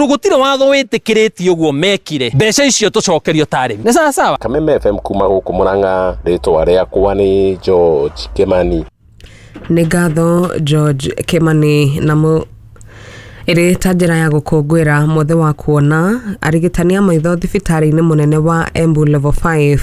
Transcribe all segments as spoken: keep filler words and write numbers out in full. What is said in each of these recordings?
Gutire watho wĩtĩkĩrĩtie ũguo mekire mbeca icio tũcokerio ta arĩmi. Nĩ sawa sawa. Kameme F M kuma gũkũ Murang'a, rĩtwa rĩakwa nĩ George Kimani. Nĩ ngatho George Kimani. Na mu ĩrĩ ta njĩra ya gũkũngũĩra mwothe wa kuona, arigitani a maitho thibitarĩ-inĩ mũnene wa Embu Level five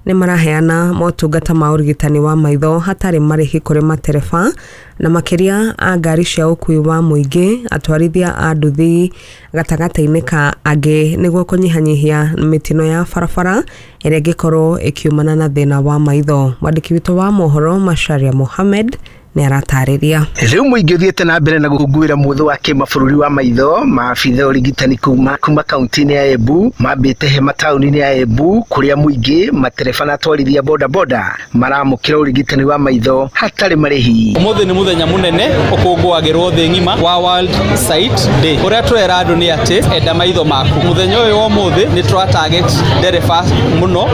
nĩ maraheana motungata ma ũrigitani wa maitho hatarĩ marĩhi kũrĩ matereba na makĩria a ngari cia ũkuui wa mũingĩ, atwarithia a nduthi gatagatĩ-inĩ ka angĩ, nĩguo kũnyihanyihia mĩtino ya barabara ĩrĩa ĩngĩkorwo ĩkiumana na thĩna wa maitho. Mwandĩki witũ wa mohoro Macharia Mohamed nĩ aratarĩria. Rĩu mũingĩ ũthiĩte na mbere na gũkũngũĩra mũthĩ wa kĩmabũrũri wa maitho. Maabitha ũrigitani kuma kuma kaunti-inĩ ya Embu mambĩte hema taũni-inĩ ya Embu kũrĩa mũingĩ, matereba na atwarithia boda boda maramũkĩra ũrigitani wa maitho hatarĩ marĩhi. Ũmũthĩ nĩ mũthenya mũnene ũkũngũagĩrwo thĩ ng'ima wa World Sight Day. Ũrĩa tũrera andũ nĩ atĩ enda maitho maku. Mũthenya ũyũ wa ũmũthĩ nĩ tũra target ndereba mũno,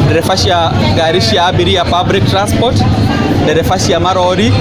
ndereba cia ngari cia abiria public transport, ndereba cia marori,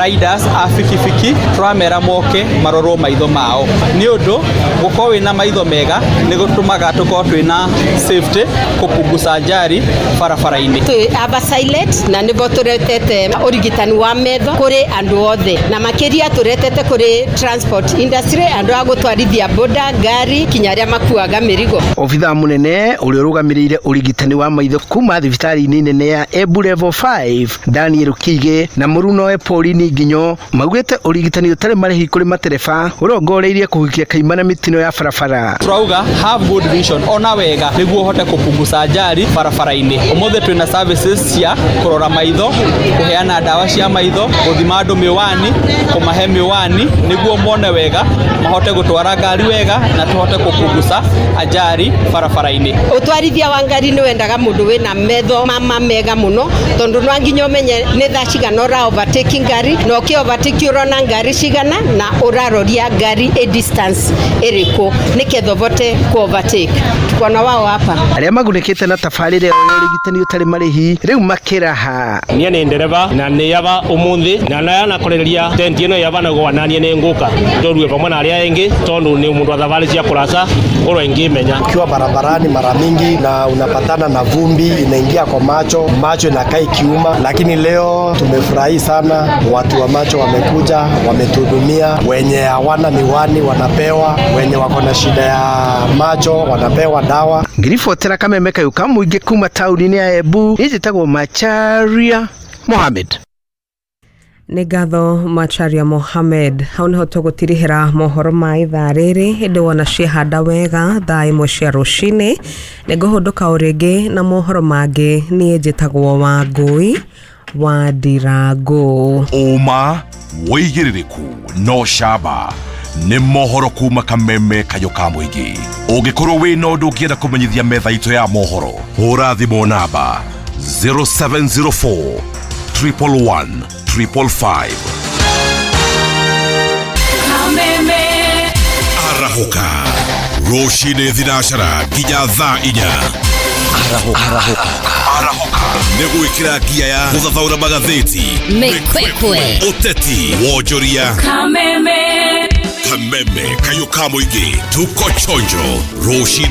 riders a bikibiki, tũramera moke marorwo maitho mao. Nĩ ũndũ gũkorwo wĩna maitho mega nĩ gũtũmaga tũkorwo twĩna safety, kũpunguza ajali barabara-inĩ. Twĩ aba silent na nĩbo tũretete ũrigitani wa metho kũrĩ andũ othe, na makĩria tũretete kũrĩ transport industry, andũ a gũtwarithia boda, ngari, kinya arĩa makuaga mĩrigo. Obithaa mũnene ũrĩa ũrũgamĩrĩire ũrigitani wa maitho kuma thibitarĩ-inĩ nene ya Embu Level five Daniel Kiige na mũrunoe Pauline Nginyo maugĩte ũrigitani ũtarĩ marĩhi kũrĩ matereba ũrongoreirie kũhukia kaimana mĩtino ya barabara. Turauga have good vision, ona wega nĩguo ũhote kũpunguza ajali barabara-inĩ. Ũmũthĩ twĩna services cia kũrora maitho, kũheana ndawa cia maitho, gũthima andũ mĩwani, kũmahe mĩwani nĩguo mone wega, mahote gũtwara ngari wega na tũhote kũpunguza ajali barabara-inĩ. Ũtwarithia wa ngari nĩ wendaga mũndũ wĩna metho mama mega mũno, tondũ no nginya ũmenye nĩ thaa cigana ũra overtake ngari, na ũkĩ overtake ũrona ngari cigana na ũraroria ngari ĩ distance ĩrĩkũ nĩketha ũvote ku overtake. Tuko na wao hapa. Arĩa magunĩkĩte na tabarĩra ya ũrigitani ũtarĩ marĩhi rĩu makĩraha. Niĩ nĩ ndereba na nĩ yaba ũmũthĩ na nayanakoreria tenti ĩno yaba na gwanania nĩ ngũka ndorue pamwe na arĩa angĩ tondũ nĩ mũndũ wa thabarĩ cia kũraca ũrĩa ingĩmenya. Ukiwa barabarani mara mingi na unapatana na vumbi inaingia kwa macho, macho inakaa ikiuma, lakini leo tumefurahi sana, watu wa macho wamekuja, wametuhudumia, wenye hawana miwani wanapewa, wenye wako na shida ya macho wanapewa dawa. Ngiribotera Kameme kayũ ka mũingĩ kuma taũni-inĩ ya Embu, njĩtagwo Macharia Mohamed. Nĩ ngatho Macharia Mohamed. Hau nĩho tũgũtirihĩra mohoro ma ithaa rĩrĩ, hĩndĩ wona ciehanda wega thaa ĩmwe cia rũcinĩ. Nĩngũhũndũka o rĩngĩ na mohoro mangĩ. Niĩ njĩtagwo Wangũi wa Ndirangũ. Ũma wĩigĩrĩrĩku no camba nĩ mohoro kuma Kameme kayũ ka mũingĩ. Ũngĩkorwo wĩna ũndũ ũngĩenda kũmenyithia metha itũ ya mohoro, hũra thimũ namba zero seven zero four triple one triple five. Kameme Arahũka rũcinĩ thinacara nginya thaa inya. Arahũka, arahũka, arahũka nĩ gwĩkĩra ngia ya gũthathaũra magathĩti, mĩkwekwe, ũteti, wonjoria. Kameme Kameme kayũ ka mũingĩ, tuko chonjo rũcinĩ.